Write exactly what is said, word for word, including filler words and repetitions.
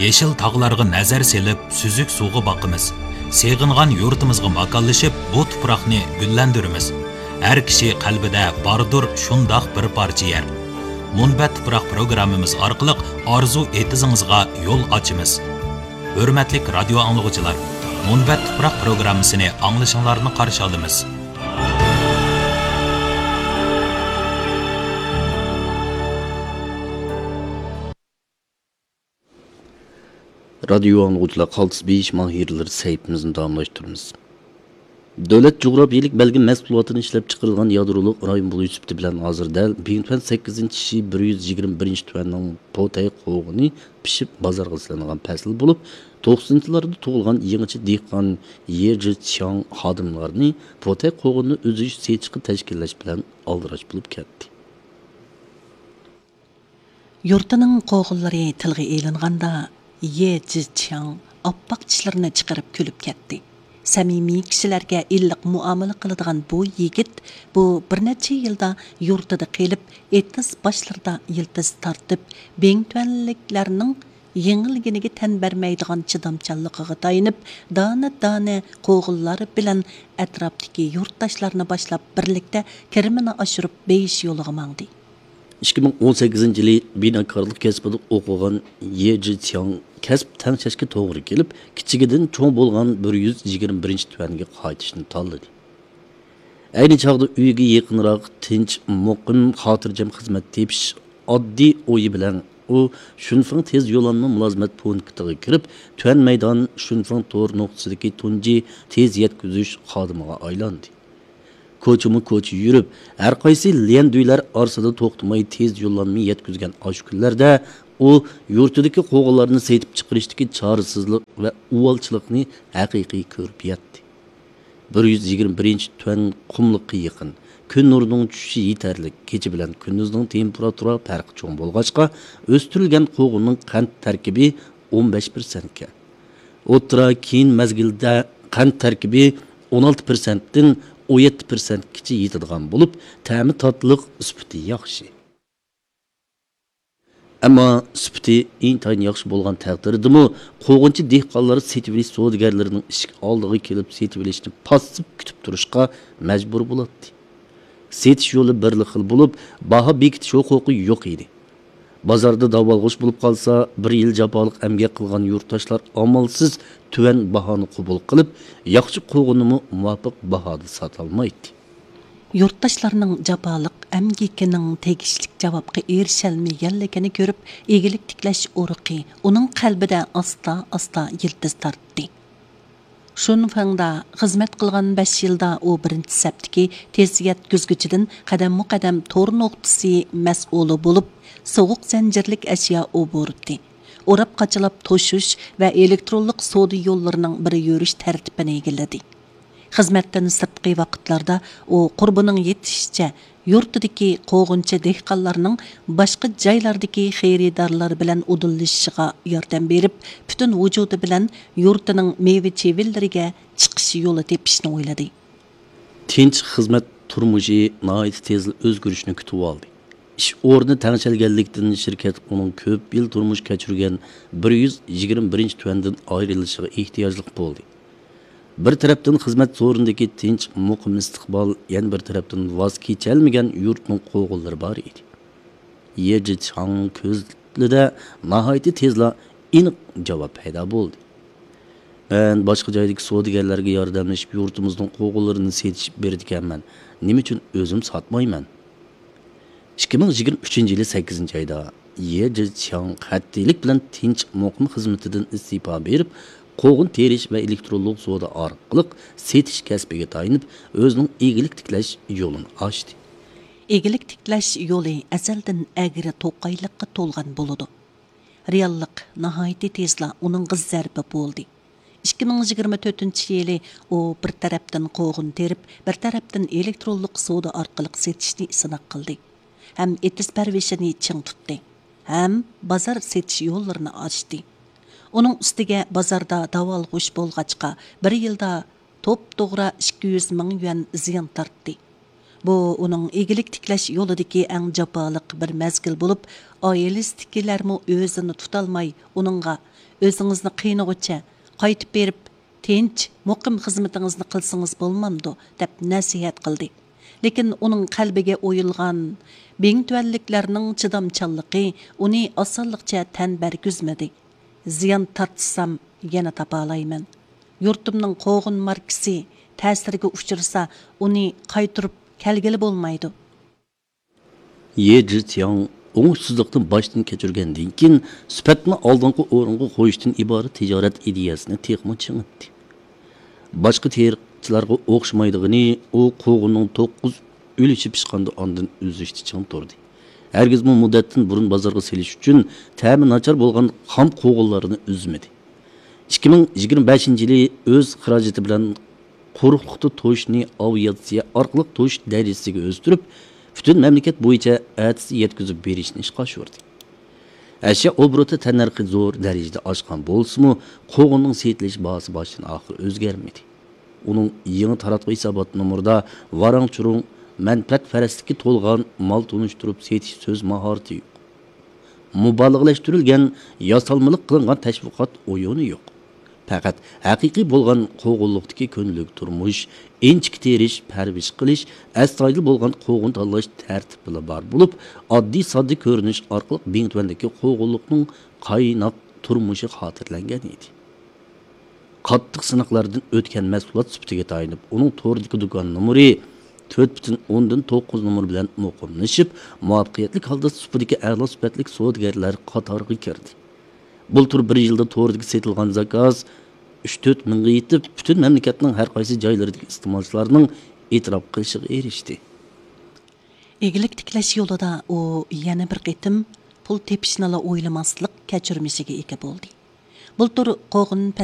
يېشىل تاغلارغا نەزەر سېلىپ، سۈزۈك سۇغا باقىمىز. سېغىنغان يۇرتىمىزغا ماكانلىشىپ، بۇ تۇپراقنى گۈللەندۈرىمىز. ھەر كىشى قەلبىدە باردۇر شۇنداق بىر پارچە يەر. مۇنبەت تۇپراق پروگراممىمىز ئارقىلىق ئارزۇ ئېتىزىڭىزغا يول ئاچىمىز. ھۆرمەتلىك رادىيو ئاڭلىغۇچىلار، مۇنبەت تۇپراق پروگراممىسىنى ئاڭلىشىڭلارنى قارشى ئالىمىز. رادىيو ئاڭلىغۇچىلار، قالتىس بېيىش ماھىرلىرى سەھىپىمىزنى داۋاملاشتۇرىمىز. دۆلەت جۇغراپىيىلىك بەلگە مەھسۇلاتىنى ئىشلەپچىقىرىدىغان يادرولۇق رايون بولۇش سۈپىتى بىلەن ھازىر دەل بىڭتۈەن سەككىزىنچى شى بىر يۈز يىگىرمە بىرىنچى تۈەننىڭ پوتەي قوغۇنى پىشىپ بازارغا سېلىنغان پەسىل بولۇپ، توقسىنىنچىلاردا تۇغۇلغان يېڭىچە دېھقان يې جىچياڭ خادىملارنى پوتەي قوغۇننى ئۈزۈش، سېتىشقا تەشكىللەش بىلەن ئالدىراش بولۇپ كەتتى. يۇرتىنىڭ قوغۇنلىرى تىلغا ئېلىنغاندا، يې جىچياڭ ئاپئاق چىشلىرىنى چىقىرىپ كۈلۈپ كەتتى. سەمىمىي، كىشىلەرگە ئىللىق مۇئامىلە قىلىدىغان بۇ يىگىت بۇ بىر نەچچە يىلدا يۇرتىدا قېلىپ، ئېتىز باشلىرىدا يىلتىز تارتىپ، بىڭتۈەنلىكلەرنىڭ يېڭىلگىنىگە تەن بەرمەيدىغان چىدامچانلىقىغا تايىنىپ، دانە-دانە قوغۇنلار بىلەن ئەتراپتىكى يۇرتداشلارنى باشلاپ، بىرلىكتە كىرىمىنى ئاشۇرۇپ بېيىش يولىغا ماڭدى. ئىككى مىڭ ئون سەككىزىنچى يىلى بىناكارلىق كەسپىدە ئوقۇغان يې جىچياڭ كەسىپ تەڭشەشكە توغرا كېلىپ، كىچىكىدىن چوڭ بولغان بىر يۈز يىگىرمە بىرىنچى تۈەنگە قايتىشنى تاللىدى. ئەينى چاغدا ئۆيىگە يېقىنراق، تىنچ، مۇقىم، خاتىرجەم خىزمەت تېپىش ئاددىي ئويى بىلەن ئۇ شۈنفېڭ تېز يوللانما مۇلازىمەت پونكىتىغا كىرىپ، تۈەن مەيدان شۈنفېڭ تور نۇقتىسىدىكى تۇنجى تېز يەتكۈزۈش خادىمىغا ئايلاندى. كوچىمۇ كوچا يۈرۈپ، ھەر قايسى ليەندۈيلەر ئارىسىدا توختىماي تېز يوللانما يەتكۈزگەن ئاشۇ كۈنلەردە ئۇ يۇرتىدىكى قوغۇنلارنى سېتىپ چىقىرىشتىكى چارىسىزلىق ۋە ئۇۋالچىلىقنى ھەقىقىي كۆرۈپ يەتتى. بىر يۈز يىگىرمە بىرىنچى تۈەن قۇملۇققا يېقىن، كۈن نۇرىنىڭ چۈشۈشى يېتەرلىك، كېچە بىلەن كۈندۈزنىڭ تېمپېراتۇرا پەرقى چوڭ بولغاچقا، ئۆستۈرۈلگەن قوغۇننىڭ قەنت تەركىبى ئون بەش پىرسەنتكە، ئوتتۇرا كېيىن مەزگىلدە قەنت تەركىبى ئون ئالتە پىرسەنتتىن ئون يەتتە پىرسەنتكىچە يېتىدىغان بولۇپ، تەمى تاتلىق، سۈپىتى ياخشى. ئەمما سۈپىتى ئىنتايىن ياخشى بولغان تەقدىردىمۇ، قوغۇنچى دېھقانلار سېتىۋېلىش سودىگەرلىرىنىڭ ئىشىك ئالدىغا كېلىپ سېتىۋېلىشنى پاسسىپ كۈتۈپ تۇرۇشقا مەجبۇر بولاتتى. سېتىش يولى بىرلا خىل بولۇپ، باھا بېكىتىش ھوقۇقى يوق ئىدى. بازاردا داۋالغۇش بولۇپ قالسا، بىر يىل جاپالىق ئەمگەك قىلغان يۇرتداشلار ئامالسىز تۆۋەن باھانى قوبۇل قىلىپ، ياخشى قوغۇننىمۇ مۇۋاپىق باھادا ساتالمايتتى. يۇرتداشلارنىڭ جاپالىق ئەمگىكىنىڭ تېگىشلىك جاۋابقا ئېرىشەلمىگەنلىكىنى كۆرۈپ، ئىگىلىك تىكلەش ئۇرۇقى ئۇنىڭ قەلبىدە ئاستا-ئاستا يىلتىز تارتتى. شۇنفېڭدا خىزمەت قىلغان بەش يىلدا ئۇ بىرىنچى سەپتىكى تېز يەتكۈزگۈچىدىن قەدەممۇ قەدەم تور نۇقتىسى مەسئۇلى بولۇپ، سوغۇق زەنجىرلىك ئەشيا ئوبوروتى، ئوراپ قاچىلاپ توشۇش ۋە ئېلېكترونلۇق سودا يوللىرىنىڭ بىر يۈرۈش تەرتىپىنى ئىگىلىدى. خىزمەتتىن سىرتقى ۋاقىتلاردا ئۇ قۇربىنىڭ يېتىشىچە يۇرتىدىكى قوغۇنچى دېھقانلارنىڭ باشقا جايلاردىكى خېرىدارلار بىلەن ئۇدۇللىشىشىغا ياردەم بېرىپ، پۈتۈن ۋۇجۇدى بىلەن يۇرتىنىڭ مېۋە چىۋىنلىرىگە چىقىش يولى تېپىشنى ئويلىدى. تىنچ خىزمەت تۇرمۇشى ناھايىتى تېزلا ئۆزگىرىشنى كۈتۈۋالدى. ئىش ئورنى تەڭشەلگەنلىكتىن، شىركەت ئۇنىڭ كۆپ يىل تۇرمۇش كەچۈرگەن بىر يۈز يىگىرمە بىرىنچى تۈەندىن ئايرىلىشىغا ئېھتىياجلىق بولدى. بىر تەرەپتىن خىزمەت سورۇنىدىكى تىنچ، مۇقىم ئىستىقبال، يەنە بىر تەرەپتىن ۋاز كېچەلمىگەن يۇرتنىڭ قوغۇنلىرى بار ئىدى. يې جىچياڭ كۆزلىرىدە ناھايىتى تېزلا ئېنىق جاۋاب پەيدا بولدى. مەن باشقا جايدىكى سودىگەرلەرگە ياردەملىشىپ، يۇرتىمىزنىڭ قوغۇنلىرىنى سېتىشىپ بېرىدىكەنمەن. نېمە ئۈچۈن ئۆزۈم ساتمايمەن؟ ئىككى مىڭ يىگىرمە ئۈچىنچى يىلى سەككىزىنچى ئايدا يې جىچياڭ قەتئىيلىك بىلەن تىنچ، مۇقىم خىزمىتىدىن ئىستېپا بېرىپ، قوغۇن تېرىش ۋە ئېلېكترونلۇق سودا ئارقىلىق سېتىش كەسپىگە تايىنىپ، ئۆزىنىڭ ئىگىلىك تىكلەش يولىنى ئاچتى. ئىگىلىك تىكلەش يولى ئەزەلدىن ئەگرى توقايلىققا تولغان بولىدۇ. رېئاللىق ناھايىتى تېزلا ئۇنىڭغا زەربە بولدى. ئىككى مىڭ يىگىرمە تۆتىنچى يىلى ئۇ بىر تەرەپتىن قوغۇن تېرىپ، بىر تەرەپتىن ئېلېكترونلۇق سودا ئارقىلىق سېتىشنى سىناق قىلدى ھەم ئېتىز پەرۋىشىنى چىڭ تۇتتى ھەم بازار سېتىش يوللىرىنى ئاچتى. ئۇنىڭ ئۈستىگە بازاردا داۋالغۇش بولغاچقا، بىر يىلدا توپتوغرا ئىككى يۈز مىڭ يۈەن زىيان تارتتى. بۇ ئۇنىڭ ئىگىلىك تىكلەش يولىدىكى ئەڭ جاپالىق بىر مەزگىل بولۇپ، ئائىلىسىدىكىلەرمۇ ئۆزىنى تۇتالماي، ئۇنىڭغا، «ئۆزىڭىزنى قىينىغۇچە، قايتىپ بېرىپ، تىنچ، مۇقىم خىزمىتىڭىزنى قىلسىڭىز بولمامدۇ؟» دەپ نەسىھەت قىلدى. لېكىن ئۇنىڭ قەلبىگە ئويۇلغان بىڭتۈەنلىكلەرنىڭ چىدامچانلىقى ئۇنى ئاسانلىقچە تەن بەرگۈزمىدى. «زىيان تارتسام، يەنە تاپالايمەن. يۇرتۇمنىڭ قوغۇن ماركىسى تەسىرگە ئۇچرىسا، ئۇنى قايتۇرۇپ كەلگىلى بولمايدۇ.» يې جىتياڭ ئوڭۇشسىزلىقنى باشتىن كەچۈرگەندىن كېيىن، سۈپەتنى ئالدىنقى ئورۇنغا قويۇشتىن ئىبارەت تىجارەت ئىدىيەسىنى تېخىمۇ چىڭىتتى. باشقا تېرىقچىلارغا ئوخشىمايدىغىنى، ئۇ قوغۇننىڭ توققۇز ئۈلۈشى پىشقاندا ئاندىن ئۈزۈشتە چىڭ تۇردى. ھەرگىزمۇ مۇددەتتىن بۇرۇن بازارغا سېلىش ئۈچۈن تەمى ناچار بولغان خام قوغۇنلارنى ئۈزمىدى. ئىككى مىڭ يىگىرمە بەشىنچى يىلى ئۆز خىراجىتى بىلەن قۇرۇقلۇقتا توشۇشنى ئاۋىئاتسىيە ئارقىلىق توشۇش دەرىجىسىگە ئۆستۈرۈپ، پۈتۈن مەملىكەت بويىچە ئەتىسى يەتكۈزۈپ بېرىشنى ئىشقا ئاشۇردى. ئەشيا ئوبوروتى تەننەرخى زور دەرىجىدە ئاشقان بولسىمۇ، قوغۇننىڭ سېتىلىش باھاسى باشتىن ئاخىر ئۆزگەرمىدى. ئۇنىڭ يېڭى تاراتقۇ ھېسابات نومۇرىدا ۋاراڭ-چۇرۇڭ، مەنپەئەتپەرەسلىككە تولغان مال تونۇشتۇرۇپ سېتىش سۆز ماھارىتى يوق. مۇبالىغىلەشتۈرۈلگەن، ياسالمىلىق قىلىنغان تەشۋىقات ئويۇنى يوق. پەقەت ھەقىقىي بولغان قوغۇنلۇقتىكى كۈندىلىك تۇرمۇش، ئىنچىكە تېرىش، پەرۋىش قىلىش، ئەستايىدىل بولغان قوغۇن تاللاش تەرتىپىلا بار بولۇپ، ئاددىي-ساددا كۆرۈنۈش ئارقىلىق بىڭتۈەندىكى قوغۇنلۇقنىڭ قايناق تۇرمۇشى خاتىرىلەنگەن ئىدى. قاتتىق سىناقلاردىن ئۆتكەن مەھسۇلات سۈپىتىگە تايىنىپ، ئۇنىڭ توردىكى دۇكان نومۇرى تۆت پۈتۈن ئوندىن توققۇز نومۇر بىلەن مۇقىملىشىپ، مۇۋەپپەقىيەتلىك ھالدا سۇپىدىكى ئەلا سۈپەتلىك سودىگەرلەر قاتارىغا كىردى. بۇلتۇر بىر يىلدا توردىكى سېتىلغان زاكاز ئۈچ تۆت مىڭغا يېتىپ، پۈتۈن مەملىكەتنىڭ ھەر قايسى جايلىرىدىكى ئىستېمالچىلارنىڭ ئېتىراپ قىلىشىغا ئېرىشتى. ئىگىلىك تىكلەش يولىدا ئۇ يەنە بىر قېتىم پۇل تېپىشنىلا ئويلىماسلىق كەچۈرمىشىگە ئىگە بولدى. بۇلتۇر قوغۇن